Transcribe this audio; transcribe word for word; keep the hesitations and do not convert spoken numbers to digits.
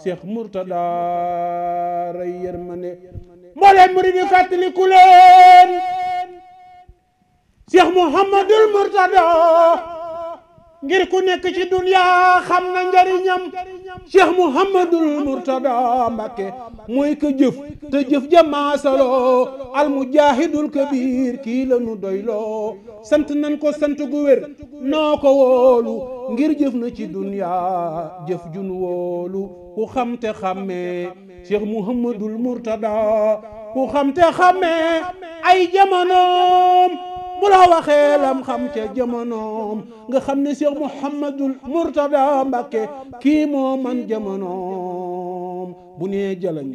Cheikh Mourtada ray yërmande mbooleem murid yi fàttaliku leen Cheikh Mouhamadul Mourtada ngir ku nekk ci dunya xam na njariñam Cheikh Mouhamadul Mourtada Mbacké mooy ka jëf te jëf jamaasaloo al mujahidul kabir kii la nu doyloo sant nan ko sant gu wér noo ko wóolu ngir jëf na ci dunya jëf jun wóolu ku xam te xàmmee Cheikh Mouhamadul Mourtada ku xam te xàmmee ay jamonoom bu la waxee lam xam ca jamonoom nga xam ne Cheikh Mouhamadul Mourtada Mbacké kii moo man jamonoom bu nee jalañ